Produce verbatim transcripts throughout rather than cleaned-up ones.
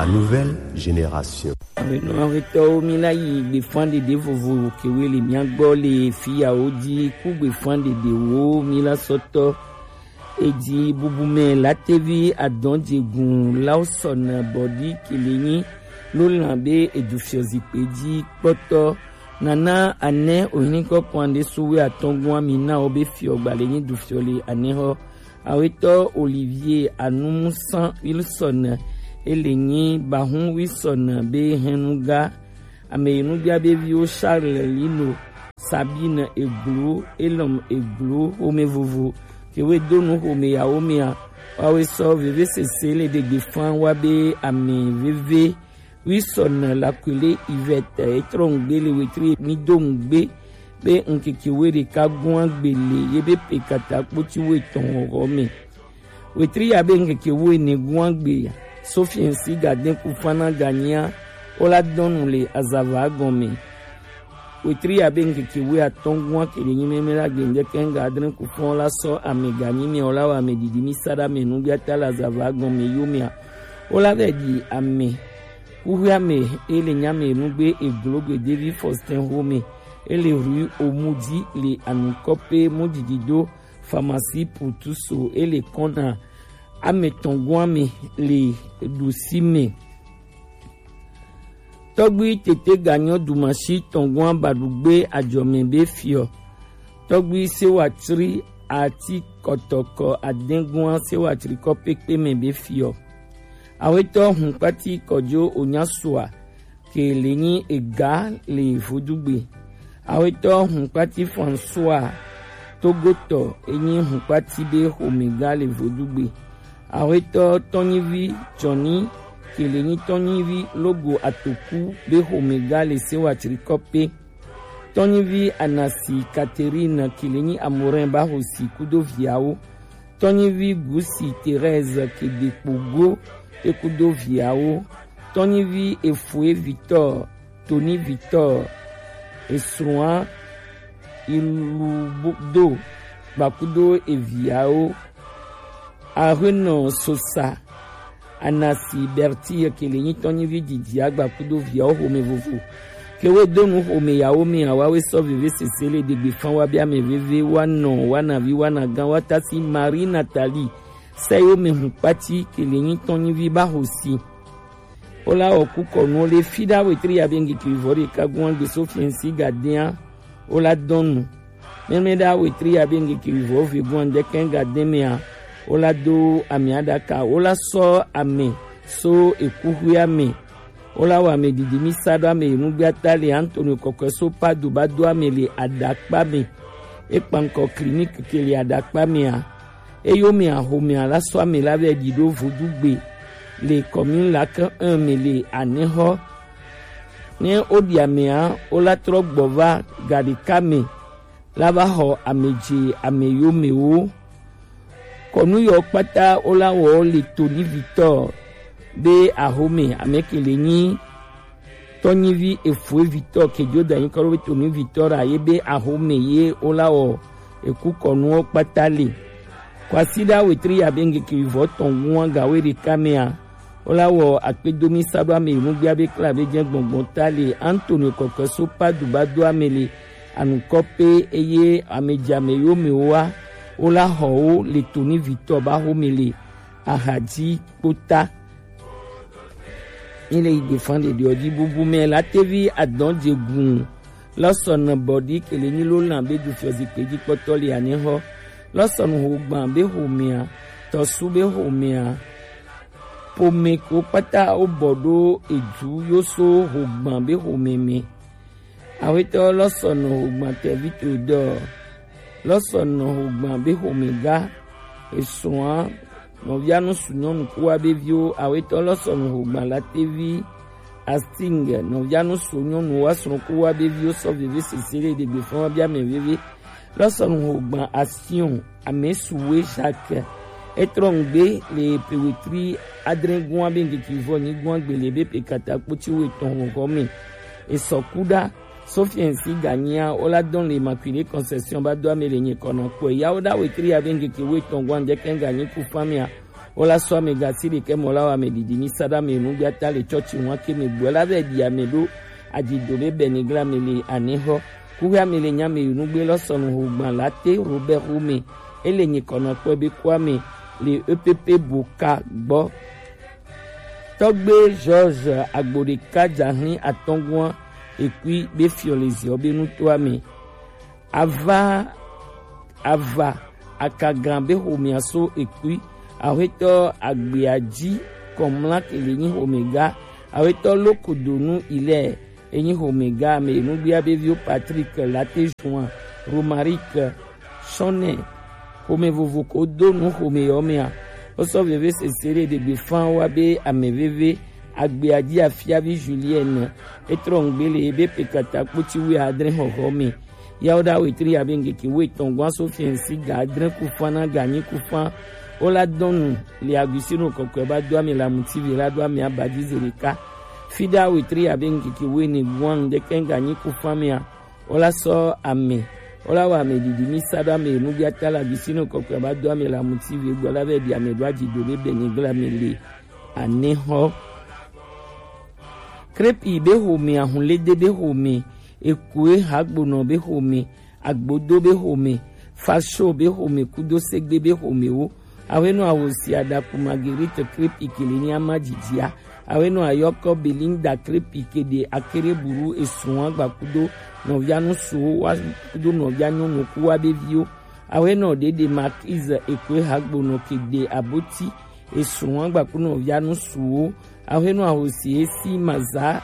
La nouvelle génération. Awenɔ awetɔwo, mi la yi gbefan ɖeɖe vovo kewe le mia gbɔ le fiyawo ji ku gbefan ɖeɖewo mi la sɔtɔ. Eji bubu mɛ latevi adɔn jegun lao sɔna bɔdi kelenyi lo lan be edu fiɔ zikpe ji kpɔtɔ. Nana anɛ ohinikɔ kwan ɖe suwe atɔngua mi na wo be fiɔ gbalenyi du fiɔ le anɛ hɔ. Awetɔ Olivier Anumusan Wilson, ele nyi Bahun Wilson be hɛnuga. Ame yi nugbia be viwo Charles Lino, Sabine Eglo, Elom Eglo, xome vovo kewe do nu xome yawo mea, wawe sɔ veve sese le ɖegbe fan wa be ame veve. Wi sɔna la kwele Yvette etrɔ ŋgbe le wetri mi do ŋgbe be ŋkeke we ɖeka gua gbe le ye be pe kata kpoti we tɔn xɔ me. Wetri ya be ŋkeke we ne gua gbe ya. Sophie si ga den ku fana ga nyia, o la dɔnu le azava gɔme. Wetri ya be ŋkeke we atɔn gua ke le nyi meme la gbe ŋdeke ŋga adre ku fɔn la sɔ ame ga nyi me o la wa ame didi mi sa ɖa me nugbia ta le azava gɔme yo mea. O la vɛ ɖi ame. Kuxuiame e le nyame nugbe eglogbe David Faustin Home, e le rue Omudi le anukɔpe mudidido pharmacie pour tous e le kɔna ame tɔnguame le ɖusi me. Tɔgbi tete ganyɔ dumasi tɔngua baɖugbe ajɔme be fiɔ. Tɔgbi sewa tri ati kɔtɔkɔ adɛngua sewa tri kɔ pekpe me be fiɔ. Awetɔ hunkpati kɔjo onyasua ke le nyi ega le vodugbe. Awetɔ hunkpati François Togotɔ enyi hunkpati be xomega le vodugbe. Awetɔ tɔnyivi Johnny ke le nyi tɔnyivi logo atoku be xomega le sewa tri kɔ pe. Tɔnyivi Anasi Catherine ke le nyi Amorin Bahosi kudo viawo. Tɔnyivi Gusi Thérèse Kedekpogo kekudo viawo. Tɔnyivi Efoe Victor, Tony Victor, esrɔ̃a Iludo gbakudo eviawo. Ahenɔ Sosa, Anasi Berti ke le nyi tɔnyivi didi agba kudo viawo xome vovo. Ke we do nu xome yawo me awa we sɔ veve sese le degbe fan wa bia me veve wa nɔ wa na vi wa na gan wa tasi Marie Nathalie sɛ yo me hun kpati ke le nyi tɔnyivi ba xosi. O la wɔ ku kɔnu le fi ɖa wetri ya be ŋgeke vɔ ɖeka gua gbe so fiɛnsi ga dɛn a. O la dɔn nu. Mɛmɛ ɖa wetri ya be ŋgeke vɔ ve gua ŋdɛkɛ ga dɛn mɛ a. O la do ame aɖaka. O la sɔ ame so ekuxuia me. O la wɔ ame didi mi sa ɖo ame yi nugbe ata le Antonio kɔkɔe so Padu ba do ame le aɖakpa me. E kpankɔ clinique ke le aɖakpa me a. Eyome axomea la sɔ ame la vɛ ɖi ɖo vodugbe le commune la ke un me le anexɔ. Ne woɖi amea, wola trɔ gbɔ va ga ɖeka me la va xɔ ame dze ame yomewo. Kɔnu yɔ kpata wola wɔ le Tony Victor be axome ame ke le nyi tɔnyivi efue vitɔ kejo da nyi kɔɖo be tɔnyivi vitɔ ɖa ye be axome ye wola wɔ eku kɔnuwo kpata le. Kwasiɖa wetri ya be ŋgeke vivɔ tɔn ŋua ga we ɖeka mea wola wɔ akpedomi sa ɖo ame yi nugbea be kla be jɛ gbɔngbɔn ta le Antonio kɔkɔe so Padu ba do ame le anukɔ pe eye ame dze ame yo me woa wola xɔ wo le tɔnyivi vitɔ ba xome le axadzi kpota. Ni le yi gbe fan ɖeɖeɔ dzi bubu mɛ la tevi adɔn dze gun lɔsɔnɔ bɔdi kele nyi lo lan be du fiɔ zikpe dzi kpɔtɔ le anexɔ lɔsɔnu hogban be homea tɔsu be homea pome ko kpata wo bɔ ɖo edu yo so hogban be home mɛ. Awetɔ lɔsɔnɔ hogban tɛvi to dɔ lɔsɔnɔ hogban be homega esrɔ̃a nɔvia nusu nyɔnu kuwa be viwo awetɔ lɔsɔnɔ hogban la tevi asting nɔvia nusu nyɔnu wa srɔ̃ kuwa be viwo sɔ veve sese le ɖegbe fɔn wa bia mɛ veve lɔsɔnɔ hogban asion amesuwe Jacques etrɔ ŋgbe le pewetri adre gua be ŋgeke vɔ nyi gua gbele be pe kata kpoti wo etɔn hɔhɔ me esɔ kuɖa. Sophie si ganyia wola dɔn le Immaculée Conception ba do ame le nye kɔnɔ kpɔe ya woɖa wetri ya be ŋgeke wo etɔn gua ŋdɛkɛ ŋganyi ku famia Wo la sɔ ame gasi ɖekɛ mɔ la wɔ ame ɖiɖi mi sa ɖo ame nugbe ata le tsɔtsi ŋu ake me gbɔ la vɛ ɖi ame ɖo adzido be bɛnigla me le anexɔ. Kuxi ame le nya me yi nugbe lɔ sɔnu ho gban la te Robert Home. Ele nyi kɔnɔ kpɔ be kua me le E P P Boka gbɔ. Tɔgbe George agbo ɖeka dzahlin atɔngua ekui be fiɔ le ziɔ be nutoa me. Ava ava akagan be xomea so ekui. Axwetɔ agbea ji kɔmla kele nyi xomega. Axwetɔ lokodonu ilɛ enyi xomega ame nugbia be viwo Patrick Late Juan, Romaric Sɔnɛ. Xome vovo ko do nu xome yɔ mea. Wosɔ veve sese ɖe ɖegbe fan wa be ame veve agbea ji afiavi Julienne etrɔ ŋgbe le ebe pekata kpoti wi adre xɔxɔ me. Yawo ɖa wetri abe ŋkeke wo etɔn gwan so fiɛnsi ga adre kufan na ga nyi kufan. Wo la dɔn nu le aguisino kɔkɔe ba do ame la muti ve la do ame aba ji ze ɖeka. Fi ɖa wetri abe ŋkeke wo ene gwan ŋdeke ga nyi kufan mea. Wo la sɔ ame. Wo la wɔ ame ɖiɖi mi sa ɖo ame nugbiata la aguisino kɔkɔe ba do ame la muti ve gbɔ la vɛ ɖi ame ɖo aji do be bɛnigla me le anexɔ. Krepi be xome, ahunlede be xome, ekoe hagbonɔ be xome, agbodo be xome, faso be xome kudo segbe be xomewo. Axwenu ahosi adaku Marguerite Krepi kele nyi ama jijia. Axwenu ayɔkɔ Belinda Krepi kede akere buru esun agba kudo nɔvia nusuwo wa kudo nɔvia nyɔnu ku wa be viwo. Axwenu ɖeɖe Marquise ekoe hagbonɔ kede aboti esun agba ku nɔvia nusuwo. Axwenu ahosi esi maza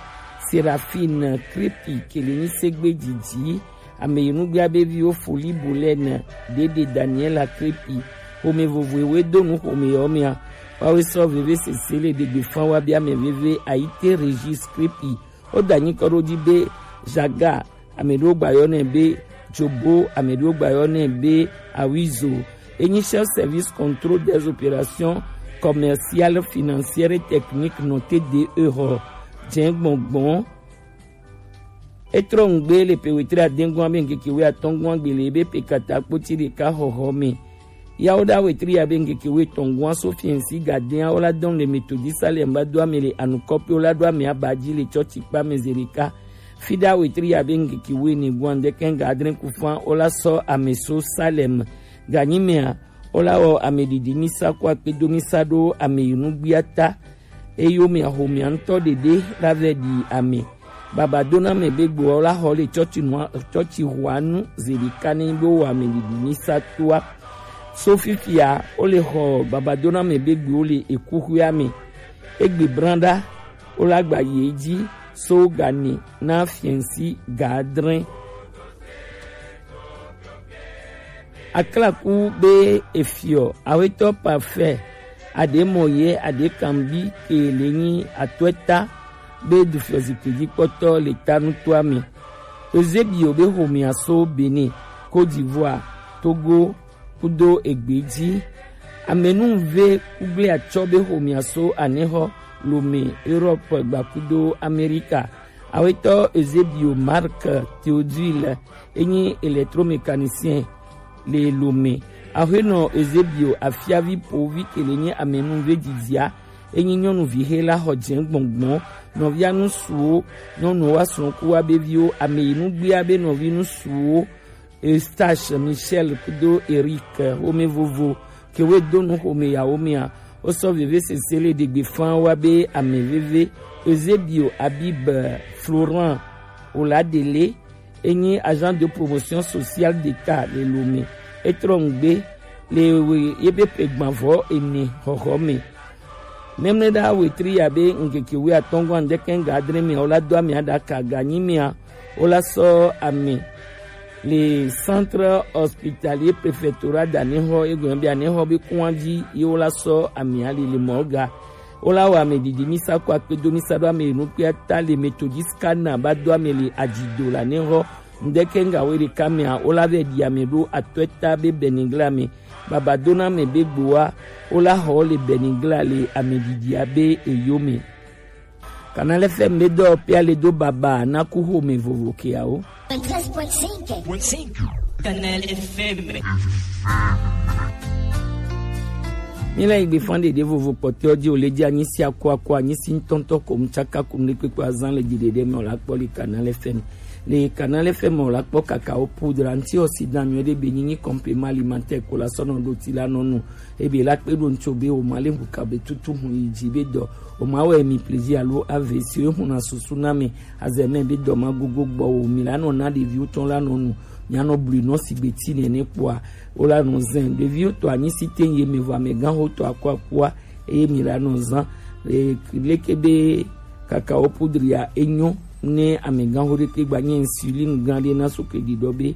Serafine Krepi kele nyi segbe jiji. Ame yi nugbia be viwo Foli Bolene ɖeɖe Daniela Krepi. Xome vovoewo do nu xome yɔ mea. Wawe sɔ veve sese le ɖegbe fan wa be ame veve Ayite Regis Krepi. Wo da nyi kɔ ɖo ji be Jaga, ame ɖewo gba yɔ nɛ be Jobo, ame ɖewo gba yɔ nɛ be Awizo. Enyi chef service contrôle des opérations commerciales, financières et techniques nɔ T D E xɔ jɛ gbɔngbɔn. Etrɔ ŋgbe le pe wetri adengua be ŋkeke we atɔngua gbe le be pe kata kpoti ɖeka xɔxɔ me. Yawo ɖa wetri ya be ŋkeke we tɔngua so fiɛnsi gadea wo la dɔn le Methodist Salem ba do ame le anukɔpi wo la do ame aba ji le tsɔtsi kpa me ze ɖeka. Fi ɖa wetri ya be ŋkeke we ne gua ŋdeke ŋga adre kufan wo la sɔ ame so Salem. Ganyi mea wo la wɔ ame ɖiɖi misa ko akpedo misa ɖo ame yi nugbia ta. Eyo mea xomea ŋutɔ ɖeɖe la vɛ ɖi ame. Babadona me be gboa wo la xɔ le tsɔtsi nua tsɔtsi xɔa nu ze ɖeka ne be wo ame ɖiɖi misa toa. So fifia wo le xɔ babadona me be gboa wo le ekuxuia me. Egbe branɖa wo la gba yi edzi so gani na fiɛnsi ga adre. Aklaku be efiɔ awetɔ parfait aɖe mɔ ye aɖe kanbi ke le nyi atɔɛta be du fiɔ zikpui dzi kpɔtɔ le ta nutoa me. Eusebio be xomea so Benin, Côte d'Ivoire, Togo kudo egbe dzi. Amenuve kugble atsɔ be xomea so anexɔ Lome, Europe gba kudo Amerika. Awetɔ Eusebio Marc Théodule enyi électromécanicien le Lome. Axwenɔ Eusebio afiavi povi ke le nyi amenuve didia enyi nyɔnuvi xe la xɔ jɛ gbɔngbɔn nɔvia nusuwo nyɔnuwo wa srɔ̃ku wa be viwo ame yi nugbia be nɔvi nusuwo Eustache, Michel kudo Eric xome vovo ke we do nu xome yawo mea. Wo sɔ veve sese le ɖegbe fan wa be ame veve Eusebio Abib Florent Oladele enyi agent de promotion sociale d'État le Lome. Etrɔ ŋgbe le we ye be pe gbanvɔ ene xɔxɔ me. Nemne ɖa wetri ya be ŋkeke we atɔngua ŋdeke ŋga adre me wo la do ame aɖaka ganyi mea wo la sɔ ame le centre hospitalier préfectoral d'anexɔ egɔn be anexɔ be kɔn dzi ye wo la sɔ ame ali le mɔga. Wo la wɔ ame ɖiɖi misa ko akpedo misa ɖo ame nukpia ta le Methodist kana ba do ame le adzido la nexɔ ŋdeke ŋga we ɖeka mea wo la vɛ ɖi ame ɖo atɔɛta be bɛnigla me. Babadona me be gboa wo la xɔ le bɛnigla le ame ɖiɖia be eyo me. Canal F M be dɔ pia le do baba na ku xome vovo keawo. Treize point cinq. Canal F M. Míle yi gbe fan ɖeɖe vovo kpɔtɔ ji o le ji anyi si ako ako anyi si ŋutɔŋutɔ ko mu tsaka ko ŋɖe kpekpe azan le ji ɖeɖe me o la kpɔ le Canal F M. Le Canal F M o la kpɔ kakao poudre antioxydant nyuie ɖe be nyinyi complément alimentaire ko la sɔ nɔ ɖo ti la nɔ nu. Ebe la kpe ɖo ŋutso be o ma le ŋu ka be tutu hu yi ji be dɔ o ma wɛ mi plaisir alo ave si o hu na susu na me azeme be dɔ ma gogo gbɔ o mi la nɔ na ɖeviwo tɔn la nɔ nu. Mia nɔ blu nɔ si gbe ti nene kpɔa o la nɔ zɛn ɖeviwo tɔ anyi si te ye me vɔ amegãxo tɔ akɔ akua eye mi la nɔ zan. E, leke be kakao poudre ya enyo ne amegãxo ɖe te gba nye insuline gã ɖe na so ke ɖiɖɔ be